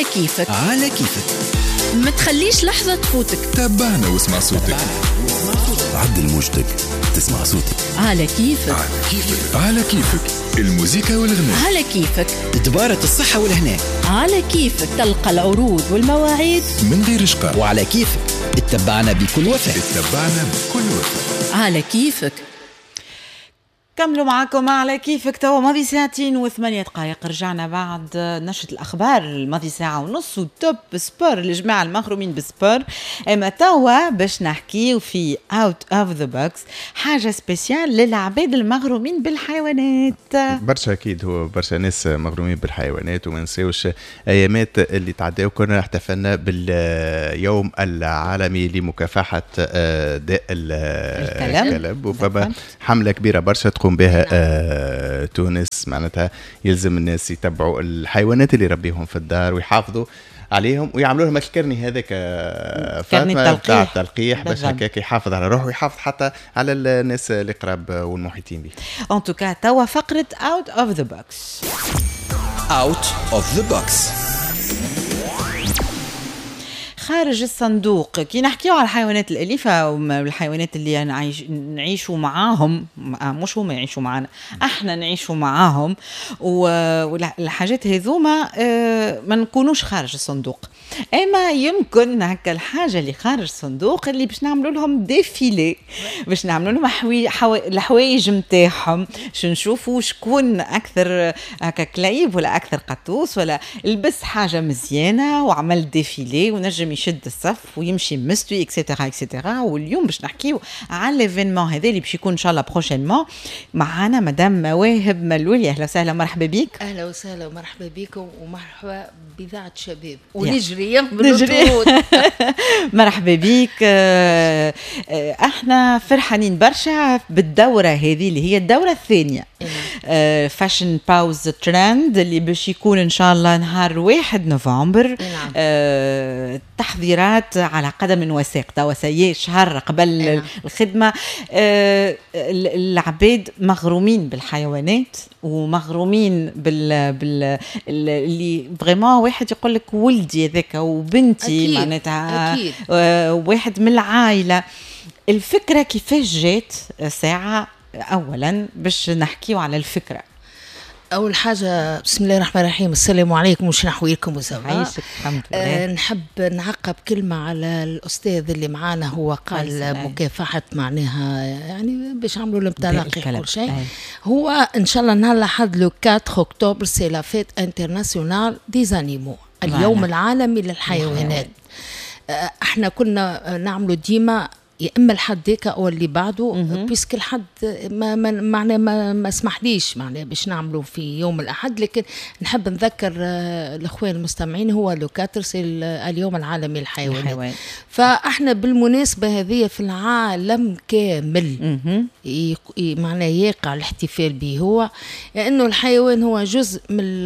على كيفك. على كيفك. ما تخليش لحظة تفوتك. تابعنا واسمع صوتك. عدل موجتك تسمع صوتك. على كيفك. على كيفك. على كيفك الموسيقى والغناء. على كيفك. دبارة الصحة والهنا. على كيفك تلقى العروض والمواعيد من غير شقاء. وعلى كيفك اتبعنا بكل وفاء. اتبعنا بكل وفاء. على كيفك. كملوا معاكم على كيفك. توا ماضي 2:08، رجعنا بعد نشرة الأخبار الماضي 1:30 و Top Sport للجماعة المغرومين بال sport. أما توا باش نحكيو في out of the box، حاجة spéciale للعباد المغرومين بالحيوانات. برشا أكيد هو برشا ناس مغرومين بالحيوانات، وما نساوش أيامات اللي تعداو كنا احتفلنا باليوم العالمي لمكافحة داء الكلب، وفما حملة كبيرة برشا تقوم بها تونس. معناتها يلزم الناس يتبعوا الحيوانات اللي يربيهم في الدار ويحافظوا عليهم ويعملوا لهم ال carnet هذاك فاطمة تاع التلقيح باش هكاك يحافظ على روحه ويحافظ حتى على الناس اللي قراب والمحيطين به. en tout cas توا فقره out of the box. out of the box، خارج الصندوق. كي نحكيو على الحيوانات الأليفة والحيوانات اللي نعيشوا معاهم، مش هما يعيشوا معانا، احنا نعيشوا معاهم، والحاجات هذوما ما نكونوش خارج الصندوق. اما يمكن هكا الحاجة اللي خارج الصندوق اللي باش نعملوا لهم défilé، باش نعملوا لهم الحوايج نتاعهم، باش نشوفوا شكون اكثر هكا كليب ولا اكثر قطوس ولا لبس حاجة مزيانة وعمل défilé ونجم يشد الصف ويمشي مستوي et cetera et cetera. واليوم باش نحكيو على l'événement هذا اللي باش يكون ان شاء الله prochainement. معانا مدام مواهب ملولي، اهلا وسهلا، مرحبا بك. اهلا وسهلا ومرحبا بكم ومرحبا بإذاعة شباب ونجري نجري. مرحبا بك. احنا فرحانين برشا بالدوره هذه اللي هي الدورة الثانية، Fashion Paws Trend اللي باش يكون ان شاء الله نهار 1 نوفمبر. تحضيرات على قدم وساق، توا سي شهر قبل الخدمة. العباد مغرومين بالحيوانات ومغرومين بال اللي vraiment واحد يقول لك ولدي هذاك وبنتي، معناتها واحد من العائلة. الفكرة كيفاش جات؟ ساعة اولا باش نحكيو على الفكرة. أول حاجة بسم الله الرحمن الرحيم، السلام عليكم وش نحويلكم وزوا. عايشك الحمد لله. نحب نعقب كلمة على الأستاذ اللي معانا، هو قال مكافحة معناها يعني باش عملوا لهم تلقيح كل شيء. هو إن شاء الله نهار الأحد le 4 octobre c'est la fête internationale des animaux، اليوم العالمي للحيوانات. احنا كنا نعملوا ديما يا اما الحد ديك او اللي بعده، puisque الحد ما معناه ما سمحليش معناه باش نعملوا في يوم الاحد. لكن نحب نذكر الاخوان المستمعين هو le quatre c'est اليوم العالمي للحيوانات. فاحنا بالمناسبة هذه في العالم كامل معناه يقع الاحتفال به، هو لانه الحيوان هو جزء من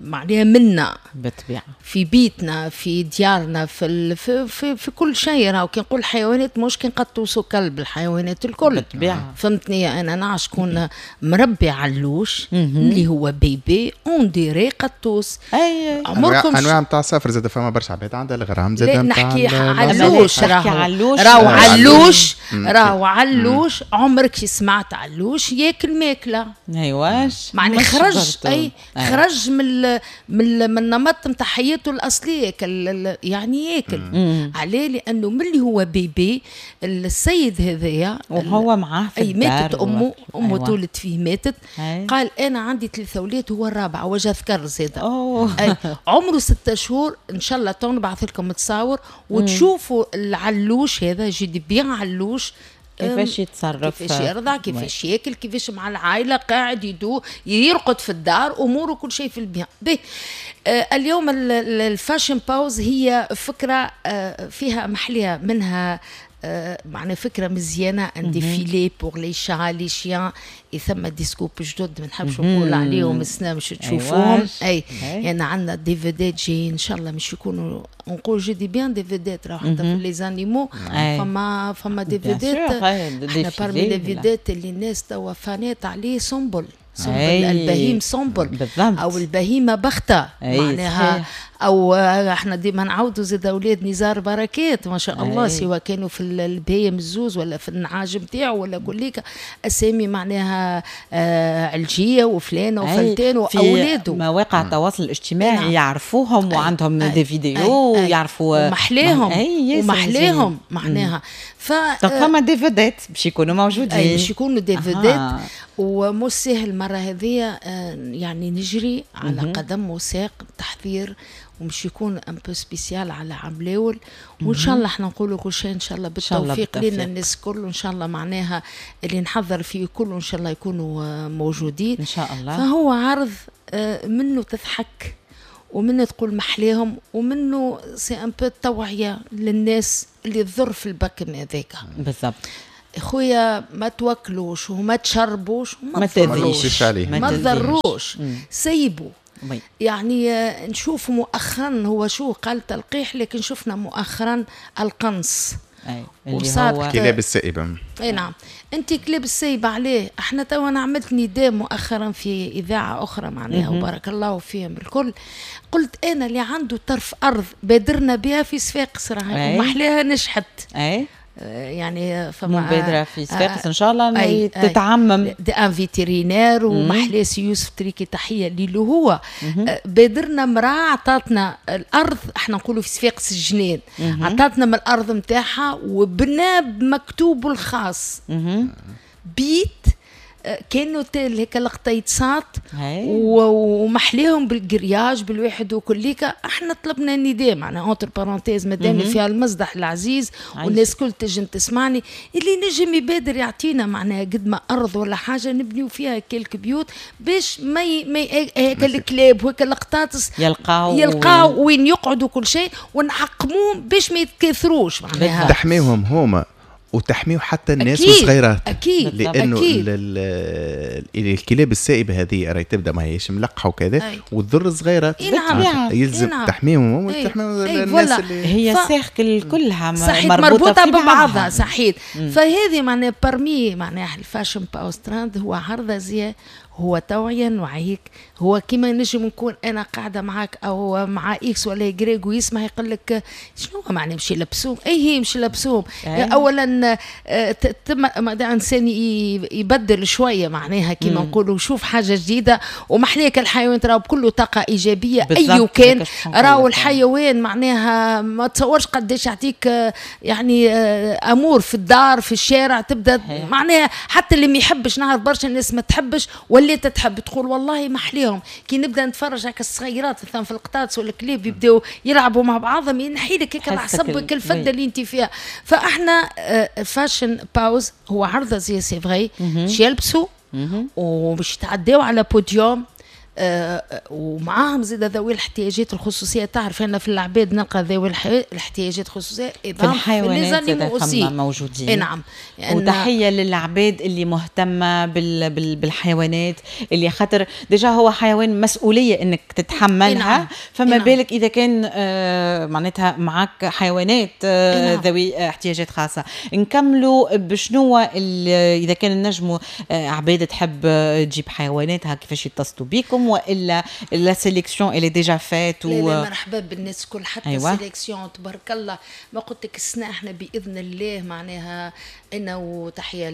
معناها منا بالطبيعة، في بيتنا، في ديارنا، في في في, في كل شيء. راهو كي نقول حيوانات مش كي نقطوس وكلب، الحيوانات الكل بالطبيعة. فهمتني؟ انا نعرف شكون مربي علوش اللي هو bébé on dirait قطوس. اي عمركم انواع نتاع السفر زاد فما برشا عباد عندها الغرام زاد نتاع نحكي علوش، راهو علوش، راهو علوش. عمرك سمعت علوش ياكل ماكله؟ ايواش معناها خرج، اي خرج من من النمط نتاع حياته الاصلية، يعني ياكل. عليه؟ لانه ملي هو bébé السيد هذايا وهو معاه في الدار، ماتت امه، امه أيوة. تولد فيه ماتت. أي. قال انا عندي 3 اولاد هو الرابع وجه ذكر زاد. عمره 6 شهور. ان شاء الله تو نبعث لكم تصاور وتشوفوا العلوش هذا، je dis bien علوش كيفاش يتصرف، كيفاش يرضع، كيفاش ياكل، كيفاش مع العائلة قاعد يدو يرقد في الدار، اموره كل شيء في ال bien. به اليوم ال Fashion Paws هي فكرة فيها محليه منها، معناها فكرة مزيانه، un défilé pour les chats les chiens. ثم des scoops جدد ما نحبش نقول عليهم السنة باش تشوفوهم. اي يعني عندنا des vedettes جايين ان شاء الله مش يكونوا نقول je dis bien des vedettes، راهو حتى في les animaux فما des vedettes. احنا parmi les vedettes اللي الناس توا فانات عليه سنبل. سنبل البهيم سنبل بالضبط. او البهيمة بخته معناها، او احنا ديما نعاودوا زاد اولاد نزار بركات ما شاء الله، سواء كانوا في البهيم الزوز ولا في النعاج نتاعو ولا كليك اسامي معناها علجيه وفلانه وفلتان واولاده. مواقع التواصل الاجتماعي يعرفوهم وعندهم des vidéos ويعرفوا ومحلاهم ومحلاهم معناها. ف فما des vedettes باش يكونوا موجودين، باش يكونوا des vedettes. ومش سهل المرة هذه يعني نجري على قدم وساق تحضير، ومش يكون un peu spécial على عام الاول، وان شاء الله احنا نقولوا كل شيء ان شاء الله بالتوفيق لنا الناس الكل، وان شاء الله معناها اللي نحضر فيه كله ان شاء الله يكونوا موجودين ان شاء الله. فهو عرض منه تضحك ومنه تقول محليهم، ومنه c'est un peu توعيه للناس اللي تضر في البكم هذاك. بالضبط خويا، ما توكلوش وما تشربوش وما تذيش، ما تضروش، سيبوا. يعني نشوف مؤخرا هو شو قال تلقيح، لكن شفنا مؤخرا القنص اللي هو كلاب السائبة. اي نعم، انت كلاب السائبة عليه. احنا توا انا عملت نداء مؤخرا في اذاعة اخرى معناها، وبارك الله فيهم الكل، قلت انا اللي عنده طرف ارض بادرنا بها في صفاقس راهي ومحلاها نجحت. يعني فما مبادرة في صفاقس ان شاء الله تتعمم. des un vétérinaire ومحلاسي يوسف تريكي تحية لي هو. بادرنا مراة عطاتنا الارض، احنا نقولوا في صفاقس الجنان، عطاتنا من الارض نتاعها وبنى بمكتوبة الخاص بيت كانوا هيك القطيطسات ومحليهم بال grillage بالواحد وكليكا. احنا طلبنا النداء معناها entre parenthèses مادام فيها المصدح العزيز والناس كل تنجم تسمعني، اللي نجم يبادر يعطينا معناها قد ما ارض ولا حاجة نبنيو فيها quelques بيوت باش ما هيك الكلاب وهيك القطاطس يلقاو وين يقعدوا كل شيء، ونعقموهم باش ما يتكاثروش معناها. تحميهم هما وتحميه حتى الناس الصغيرات. اكيد، لانه أكيد. الكلاب السائبه هذه راهي تبدا ما هيش ملقحة وكذا وتضر الصغيرات. نعم. يلزم تحميهم وتحمي الناس اللي هي cercle كلها مربوطة ببعضها. صحيح. فهذه معناها parmi معناها ال Fashion Paws Trend هو عرض ازياء، هو توعية نوعيك، هو كيما نجم نكون انا قاعدة معاك او مع X ولا Y ويسمع يقول لك شنو معنى مشي لبسوم؟ اي هي مشي لبسوم. اولا تم انسان يبدل شوية معناها كيما نقولوا، يشوف حاجة جديدة. ومحليك الحيوان تراو بكله طاقة ايجابية اي كان، راهو الحيوان معناها ما تصورش قداش يعطيك يعني امور في الدار في الشارع تبدا معناها. حتى اللي ما يحبش، نعرف برشا الناس ما تحبش ولا تحب تقول والله محليهم. كي نبدا نتفرج هكا الصغيرات مثلا في القطاطس ولا الكلاب يبداو يلعبوا مع بعضهم، ينحي لك هيك العصب الفده اللي انت فيها. فاحنا Fashion Paws هو عرض زي c'est vrai باش يلبسوا وباش يتعداو على بوديوم، ومعاهم زاد ذوي الاحتياجات الخصوصية. تعرف انا في العباد نلقى ذوي الاحتياجات الخصوصية، في الحيوانات زاد موجودين. نعم. وتحية للعباد اللي مهتمة بالحيوانات، اللي خاطر déjà هو حيوان مسؤولية انك تتحملها. نعم. فما نعم. بالك اذا كان معناتها معك حيوانات نعم. ذوي احتياجات خاصة. نكملوا بشنو اذا كان نجموا عباد تحب تجيب حيواناتها كيفاش يتصلوا بكم، والا la sélection elle est déjà faite؟ و لا مرحبا بالناس الكل حتى أيوة. sélection تبارك الله، ما قلت لك السنة احنا باذن الله معناها انا وتحية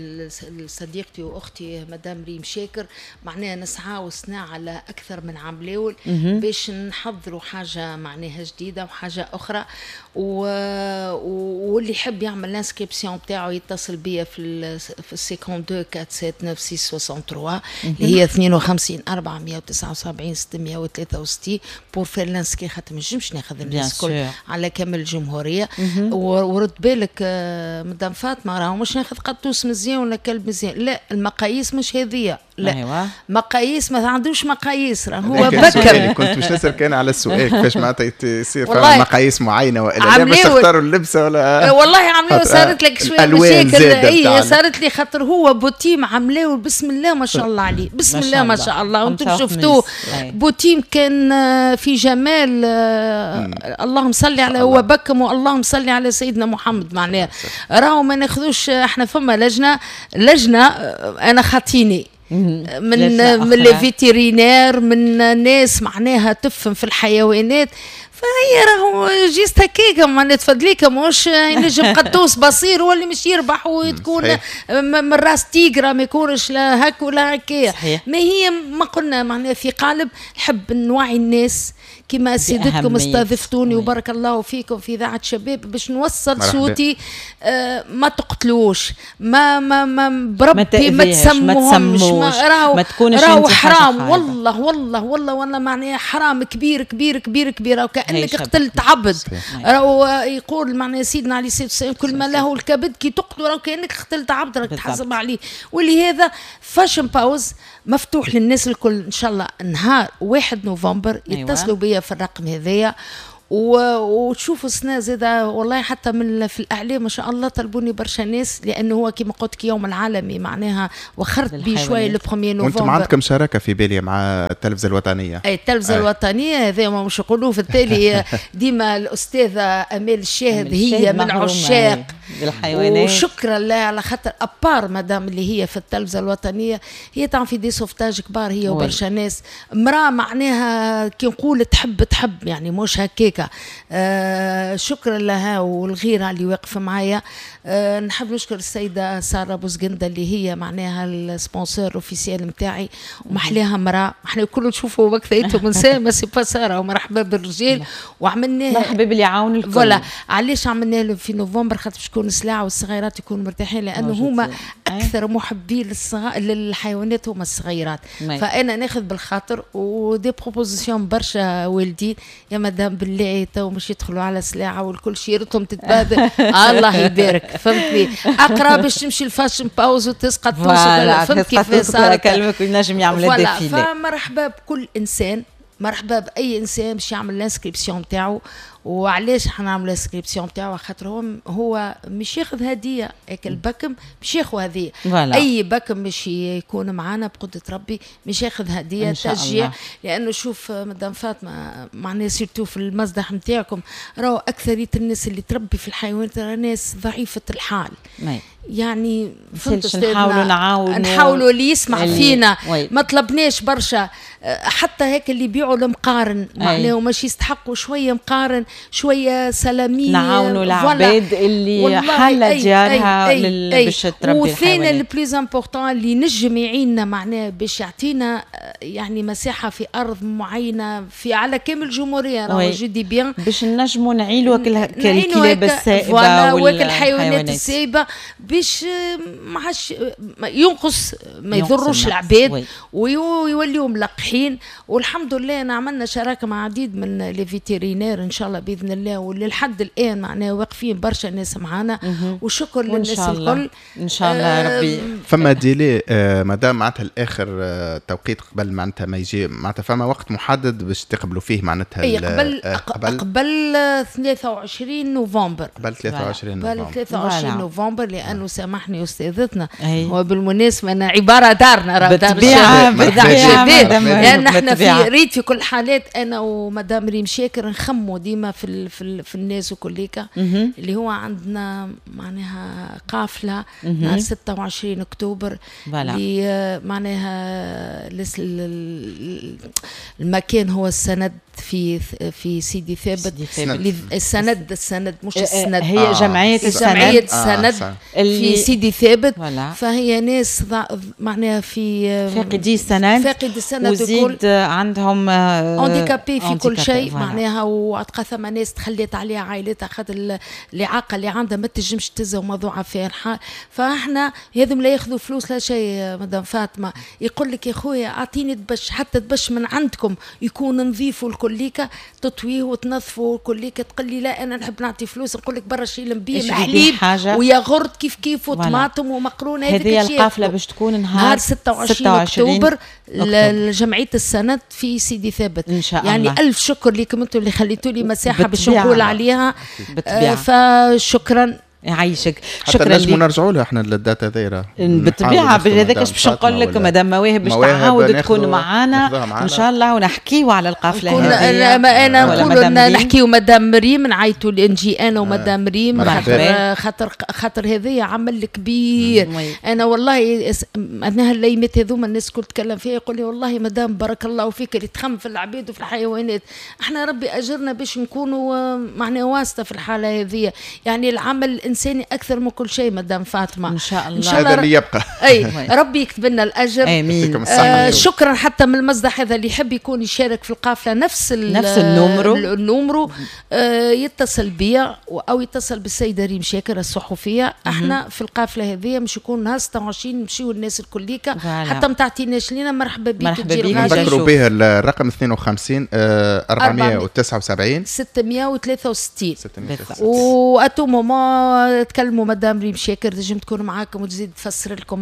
لصديقتي واختي مدام ريم شاكر معناها نسعى وسنا على اكثر من عام الاول باش نحضروا حاجة معناها جديدة وحاجه اخرى. واللي يحب يعمل l'inscription بتاعه يتصل بيا في 52 47 96 63 اللي هي 52 479 663 pour faire l'inscription، خاطر ما نجمش ناخذ الناس الكل على كامل الجمهورية. ورد بالك مدام فاطمة، راهو مش ناخذ قطوس مزيان ولا كلب مزيان، لا المقاييس مش هذية، لا. أيوة. مقاييس ما عندوش مقاييس، راه هو بكر. كنت مش نسأل كان على السؤال كيفاش معناتها يصير فما مقاييس معينة والا لا باش تختاروا اللبسه ولا. والله عملوا صارت لك شوية مشاكل. اي صارت لي خاطر هو بوتيم عملاو بسم الله ما شاء الله عليه، بسم الله ما شاء الله، وانتم شفتوه بوتيم كان في جمال، اللهم صل على هو بكم واللهم صل على سيدنا محمد. معناها راهو ما ناخذوش احنا، فما لجنة انا خاطيني. من les vétérinaires، من ناس معناها تفهم في الحيوانات. فهي راهو juste هكاك معناها تفدليك، ماهوش ينجم قطوس بصير هو اللي مش يربح وتكون من race tigre، ما يكونش لا هك ولا هكايا. ما هي ما قلنا معناها في قالب نحب نوعي الناس كما سيدتكم استضفتوني وبارك الله فيكم في اذاعة شباب باش نوصل صوتي. ما تقتلوش، ما ما ما بربي ما تسموهمش، راهو راهو حرام والله والله والله والله، معناها حرام كبير كبير كبير كبير، وكانك قتلت عبد. راهو يقول معناها سيدنا عليه الصلاة والسلام كل ما له الكبد، كي تقتلوا راهو كانك قتلت عبد، راك تحاسب عليه. ولهذا Fashion Paws مفتوح للناس الكل ان شاء الله نهار 1 نوفمبر. يتصلوا بيا في الرقم هذايا وتشوفوا السنة زاده والله حتى من في الاعلام ما شاء الله طلبوني برشا ناس، لانه هو كما قلت لك يوم العالمي معناها وخرت بيه شوية le 1 نوفمبر. وانتم عندكم شراكة في بالي مع التلفزة الوطنية. اي التلفزة الوطنية، هذا ما مش يقولوه في التالي ديما الاستاذة امال الشاهد هي من عشاق الحيوانات، وشكرا لها على خاطر à part مادام اللي هي في التلفزة الوطنية هي تعمل في des sauvetages كبار هي وبرشا ناس. امراة معناها كي نقول تحب تحب يعني مش هكاكا. شكرا لها والغيرة اللي واقفة معايا. نحب نشكر السيدة ساره بوزقنده اللي هي معناها ال sponsor officiel نتاعي، ومحلاها امراة، احنا كل نشوفوا وقتها نساء mais c'est pas ساره، ومرحبا بالرجال. وعملناها مرحبا باللي يعاون الكل. voilà علاش عملناها في نوفمبر، خاطر باش تكون سلاعه والصغيرات يكونوا مرتاحين، لانه هما اكثر محبين للحيوانات هما الصغيرات. فانا ناخذ بالخاطر و des propositions برشا والدين يا مدام بالله تو مش يدخلوا على سلاعه والكل شيرتهم تتبادل الله يبارك، فهمتني؟ اقرا باش تمشي ال Fashion Paws وتسقط، فهمت كيف صار كلمك وينجم يعمل défilé. فمرحبا بكل انسان، مرحبا باي انسان باش يعمل l'inscription نتاعو. وعلاش حنعمل l'inscription نتاعو؟ خاطر هو مش ياخذ هديه، هيك البكم مش ياخذ هديه. اي بكم مش يكون معانا بقدره ربي مش ياخذ هديه تشجيع، لانه شوف مدام فاطمة معناها surtout في المصدح نتاعكم راهو اكثرية الناس اللي تربي في الحيوانات راه ناس ضعيفة الحال. يعني فهمت، نحاولوا نعاونوا، نحاولوا اللي يسمع فينا. ما طلبناش برشا، حتى هيك اللي يبيعوا المقارن معناها مش يستحقوا شوية مقارن شوية سلاميه، نعاونوا العباد اللي حالة ديارها باش تربي وثاني ال plus important اللي نجم يعيننا معناه باش يعطينا يعني مساحة في ارض معينة في على كامل الجمهورية، راهو je dis bien باش نجموا نعيلوا الكلاب السائبه والحيوانات السائبه باش ما عادش ينقص، ما يضروش العباد ويوليوا ملقحين. والحمد لله انا عملنا شراكة مع عديد من les vétérinaires ان شاء الله باذن الله، واللي لحد الان معناها واقفين برشا ناس معانا، وشكر للناس الكل ان شاء الله ربي. فما délai مادام معناتها الاخر توقيت قبل معناتها ما يجي معناتها فما وقت محدد باش تقبلوا فيه معناتها؟ قبل 23 نوفمبر، قبل 23 نوفمبر، قبل 23 نوفمبر، لانه سامحني استاذتنا هو بالمناسبة انا عبارة دارنا بالطبيعة بالطبيعة، لان احنا في ريت في كل حالات انا ومدام ريم شاكر نخموا ديما في في, في الناس وكليكا اللي هو عندنا معناها قافله نهار 26 اكتوبر اللي معناها المكان هو السند في سيدي ثابت، السند السند مش السند، هي جمعية السند، جمعية السند في سيدي ثابت. فهي ناس معناها في فاقدي السند، فاقدي السند وزيد عندهم handicapés في كل شيء معناها، وتلقى ثم ناس تخليت عليها عائلتها خاطر الاعاقة اللي عندها ما تنجمش تزه وموضوعها فيها الحال. فاحنا هذم لا ياخذوا فلوس لا شيء مدام فاطمة، يقول لك يا خويا اعطيني دبش، حتى دبش من عندكم يكون نظيف والكليكه تطويه وتنظفه والكليكه، تقول لي لا انا نحب نعطي فلوس، نقول لك برا شيل بيه حليب وياغورت كيف كيف وطماطم ومقرونه. هذه القافلة باش تكون نهار 26 اكتوبر لجمعية السند في سيدي ثابت ان شاء الله. يعني الف شكر لكم انتم اللي خليتوا لي مساحة باش نقول عليها، فشكرا. يعيشك. شكرا لك. نرجعوا لها احنا لل date هذيرا بالطبيعة، هذاك باش نقول لك مدام مواهب باش تعاود تكون معانا ان شاء الله ونحكيو على القافلة هذه. انا نقول نحكيو مدام ريم، نعيطوا نجي انا ومدام ريم، خاطر خاطر هذايا عمل كبير. انا والله انا هالايامات هذوما الناس الكل تكلم فيها، يقول لي والله مدام بارك الله فيك اللي تخم في العبيد وفي الحيوانات، احنا ربي اجرنا باش نكونوا معنا واسطه في الحالة هذه، يعني العمل الانساني اكثر من كل شيء مدام فاطمة. ان شاء الله هذا اللي يبقى. اي ربي يكتب لنا الاجر. امين. شكرا حتى من المصدح هذا اللي يحب يكون يشارك في القافلة نفس ال numéro يتصل بيا او يتصل بالسيده ريم شاكر الصحفية. احنا في القافلة هذه مش يكون نهار 26 نمشيو الناس الكليكه، حتى ما تعطيناش لينا مرحبا بك. مرحبا بك. نذكروا به الرقم 52 479 663 و à tout moment تكلموا مدام ريم شاكر تنجم تكون معاكم وتزيد تفسر لكم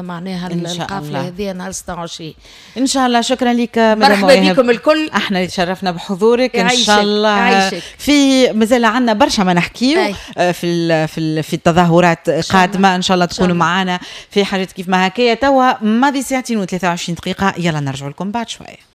معناها القافلة هذه نهار 26 ان شاء الله. شكرا لك مدام، مرحبا بكم الكل. احنا اللي تشرفنا بحضورك. ان شاء الله في مازال عندنا برشا ما نحكيو في في في التظاهرات قادمة، ان شاء الله تكونوا معنا في حاجات كيف ما هكايا. توا ماضي ساعتين و23 دقيقة، يلا نرجع لكم بعد شوية.